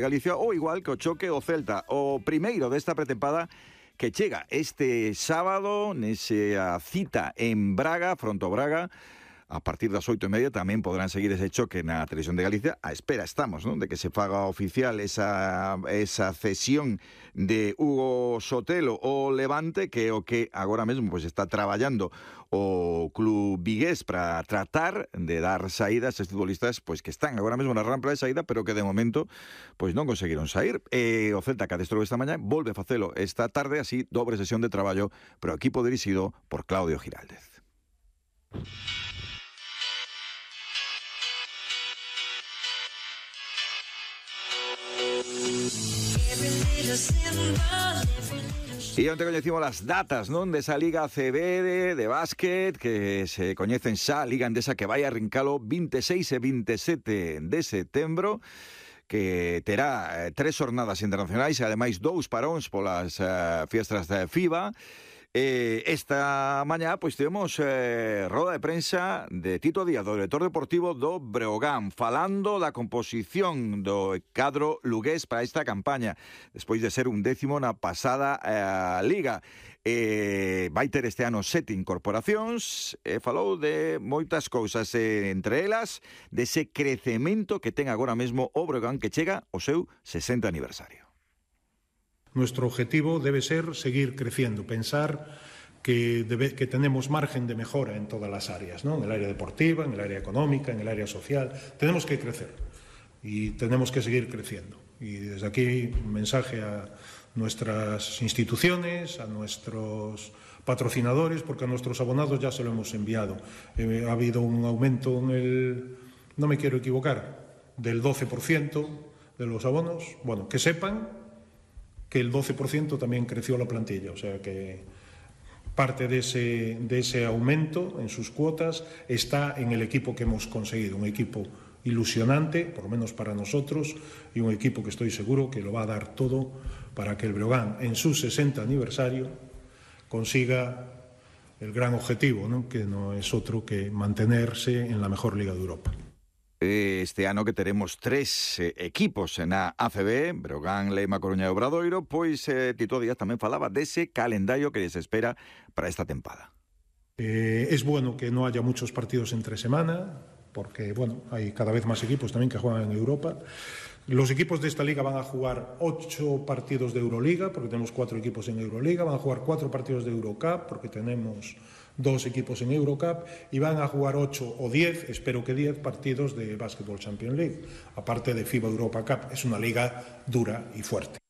Galicia, ou igual que o choque o Celta, o primeiro desta pretempada que chega este sábado nesa cita en Braga, fronte ao Braga. A partir das 8:30 tamén podrán seguir ese choque na Televisión de Galicia. A espera estamos, non, de que se faga oficial esa cesión de Hugo Sotelo ao Levante, que é o que agora mesmo pois está traballando o club vigués para tratar de dar saída a estes futbolistas pois que están agora mesmo na rampa de saída, pero que de momento pois non conseguiron sair. O Celta, que adestrou esta mañá, volve a facelo esta tarde, así dobre sesión de traballo para o equipo dirixido por Claudio Giraldez. E onte coñecimos as datas, non, desa Liga ACB de básquet, que se coñecen xa, a Liga Endesa, que vai arrincalo 26 e 27 de setembro, que terá 3 xornadas internacionais e ademais 2 paróns polas fiestras de FIBA. Esta mañá pois temos roda de prensa de Tito Díaz, do director deportivo do Breogán, falando da composición do cadro lugués para esta campaña, despois de ser un 10º na pasada liga. Vai ter este ano 7 incorporacións, falou de moitas cousas, entre elas dese crecemento que ten agora mesmo o Breogán, que chega ao seu 60 aniversario. Nuestro objetivo debe ser seguir creciendo, pensar que tenemos margen de mejora en todas las áreas, ¿no? En el área deportiva, en el área económica, en el área social. Tenemos que crecer y tenemos que seguir creciendo. Y desde aquí un mensaje a nuestras instituciones, a nuestros patrocinadores, porque a nuestros abonados ya se lo hemos enviado. Ha habido un aumento no me quiero equivocar, del 12% de los abonos. Bueno, que sepan que el 12% también creció la plantilla, o sea que parte de ese aumento en sus cuotas está en el equipo que hemos conseguido, un equipo ilusionante, por lo menos para nosotros, y un equipo que estoy seguro que lo va a dar todo para que el Breogán, en su 60 aniversario, consiga el gran objetivo, ¿no? Que no es otro que mantenerse en la mejor liga de Europa. Este ano que teremos 3 equipos na ACB, Breogán, Lema, Coruña e Obradoiro, pois Tito Díaz tamén falaba dese calendario que se espera para esta tempada. Es bueno que no haya muchos partidos entre semana, porque bueno, hay cada vez más equipos también que juegan en Europa. Los equipos de esta liga van a jugar 8 partidos de Euroliga, porque tenemos 4 equipos en Euroliga, van a jugar 4 partidos de Eurocup, porque tenemos 2 equipos en Eurocup, y van a jugar 8 o 10, espero que 10 partidos de Basketball Champions League, aparte de FIBA Europa Cup. Es una liga dura y fuerte.